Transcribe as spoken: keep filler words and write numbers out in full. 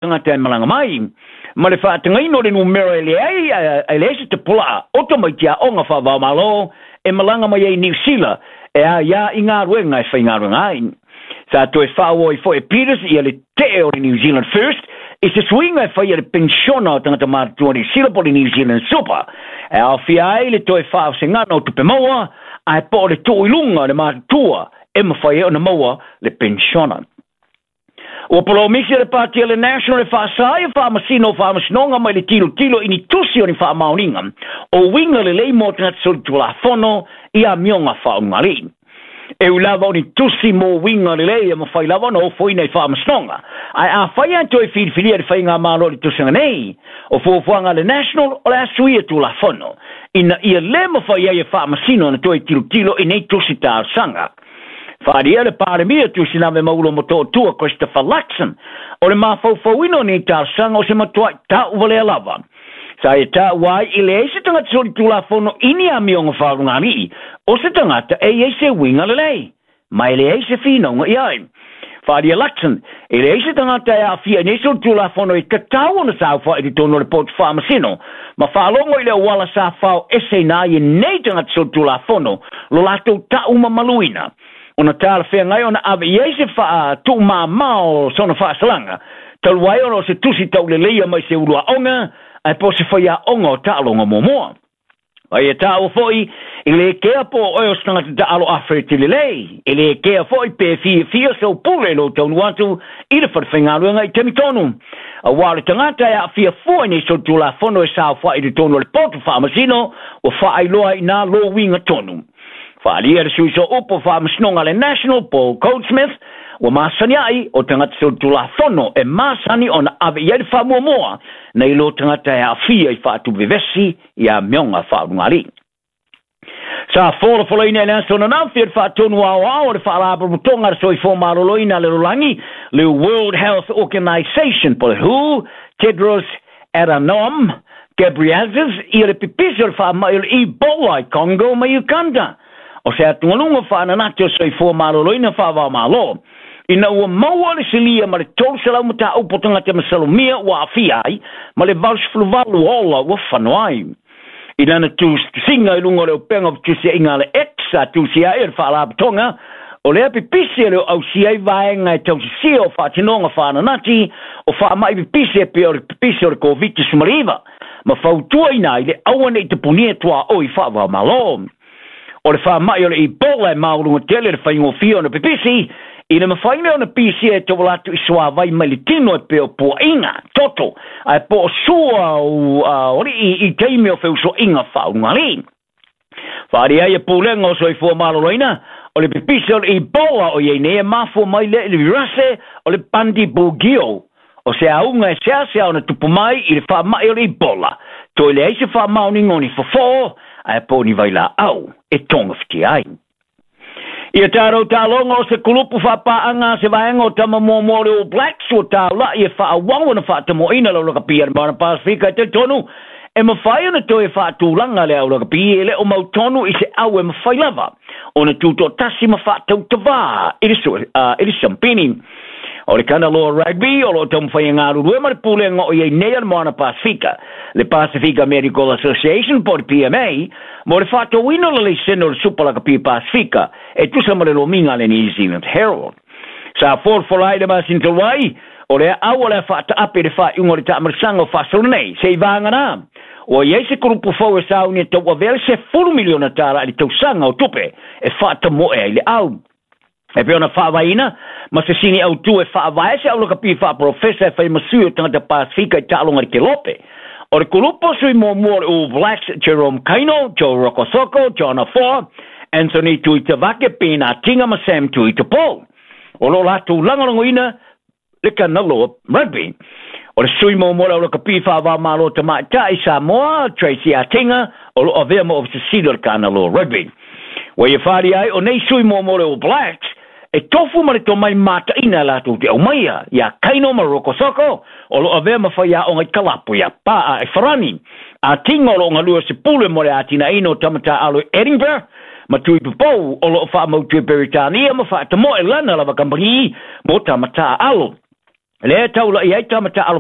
Tagata e malaga mai ma le faatagaina o le numera e leai e leai se tapulaa o tamaiti aoga faavaomalo e malaga mai ai Niu Sila e aiā i galuega e faigaluega ai. Sa toe faaauau ai foi e Peters ia le tee o le New Zealand First i se suiga e faia le penisiona o tagata matutua Niu Sila po o le New Zealand Super e aofia ai le toe faaosegana o tupe maua ae po o le tuu i luga o le matutua e mafai ai ona maua le penisiona. Ua polomisi le pati a le National e faasā ia faamasino o faamasinoga mai le tilotilo i ni tusi o ni faamaoniga o uiga lelei mo tagata solitulafono i amioga faaulugalii. E ui lava o ni tusi mo uiga lelei e mafai lava ona ofoina i faamasinoga, ae afai lava toe filifilia le faigamalo i le tausaga nei, o fuafuaga a le National o le a suia tulafono ina ia lē mafai ai e faamasino ona toe tilotilo i nei tusi talosaga. Faaalia le Palemia Tuisiname Maulo Motootua Christopher Luxon o le mafaufauina o nei talosaga o se matuai tauvalea lava. Sa ia taua ai e leai se tagata solitulafono i ni amioga faalugalii o se tagata e i ai se uiga lelei, ma e leai se finauga i ai. Faaalia Luxon e leai se tagata e aafia i nei solitulafono e tatau ona saofai i totonu o le potu faamasino ma faalogo i le auala sa faoeseina ai e nei tagata solitulafono lo latou taumamaluina ona talafeagai ona ave i ai se faatuumamao o sona faasalaga talu ai ona o se tusi tauleleia mai se uluaoga ae po o se faiaoga o taaloga muamua. A ia taua foi e lē kea po o oe o se tagata taalo afeleti lelei, e lē kea foi pe fiafia sou pule i lou taunuu atu i le falefaigaluega i taimi tonu. Auā o le tagata e aafia fua i nei solitulafono e saofai i totonu o le potu faamasino ua faailoa ai inā lou uiga tonu. Faaalia le sui sooupu o faamasinoga a le National, Paul Goldsmith, ua masani ai o tagata solitulafono e masani ona ave i ai le faamuamua nai lo tagata e aafia i faatuvevesi i amioga faaulugalii. Sa folafolaina i le aso ananafi e le faatonu aoao o le Faalapotopotoga a le Soifua Maloloina a le Lalolagi, le World Health Organization po o le W H O, Tedros Adhanom Ghebreyesus ia le pipisi o le faamai o le Ebola i Congo ma Uganda. O se atugaluga faananati o soifua maloloina faavaomalo ina ua maua le silia ma le tolu selau mataupu o tagata masalomia ua aafia ai ma le valu sefulu valu ola ua fano ai. I lana tusiga i luga o le upega o fetusiaiga a le X sa tusia ai e le Faalapotopotoga o lea pipisi e le o ausia ai vaega e tausisia o faatinoga faananati o faamai pipisi e pei o le pipisi o le Koviti sefuluiva ma fautuaina ai le aua nei tapunia tuaoi faavaomalo. O le faamai o le Ebola e maualuga tele le faigofie ona pipisi i le mafai lea ona pisia e tauala atu i suavai mai le tino e pei o puaʻiga toto ae po o sua o alii i taimi o feusoaiga faaulugalii. Faaalia ai e pulega o soifua maloloina o le pipisi o le Ebola o iai nei e mafua mai lea i le virase o le Bundibugyo o se auga e seasea ona tupu mai i le faamai o le Ebola. Toe leai se faamaoniga o ni fofo ae po o ni vailaau e togafitia ai. Ia tatou taaloga o se kulupu faapaaga a se vaega o tama muamua o le All Blacks ua taula'i e faaauau ona faatamoaina le aulakapi a le Moana Pasifika e talitonu e mafai ona toe faatulaga le aulakapi e le o mautonu i se au e mafai lava ona tutoatasi ma faatautavā i le, uh, i le sampini. O le Kanaloa Rugby o loo taumafai e galulue ma le pulega o iai nei a le Moana Pasifika, le Pasifika Medical Association po o le P M A, mo le faatauina o le laisene o le Supa Lakapi Pasifika e tusa ma le lomiga a le New Zealand Herald. Sa folafola ai le masina talu ai o lea au o le a faataape i le faaiuga o le taamalisaga o faasolo nei se i vagana ua iai se kulupu fou e sauni e tauavea le sefulu miliona tala i le tausaga o tupe e faatamoe ai le au. E pei ona faavaeina ma se sini autu e faavae se aulakapi faaprofesa e faimasui o tagata Pasifika i taaloga i le kelope. O le kulupu o sui muamua o le All Blacks, Jerome Kaino, Joe Rokocoko, John Afoa, Anthony Tuitavake, Ben Atinga ma Sam Tuitupou. O loo latou lagolagoina le Kanaloa Rugby. O le sui muamua o le aulakapi faavaomalo tamaitai Samoa, Tracy Atinga, o loo avea ma ofisa sili o le Kanaloa Rugby. Ua ia faaalia ai o nei sui muamua o le All Blacks e tofu ma le tomai mataina latou te aumaia ia Kaino ma Rokocoko o loo avea ma faiaoga i kalapu ia Paa e Farani. Atinga o loo galue se pule mo le atinaina o tamataalo i Edinburgh ma Tuipupou o loo faamautu e Peritania ma faatamoe lana lava kamupani mo tamataalo. Lea taula'i ai tama taalo.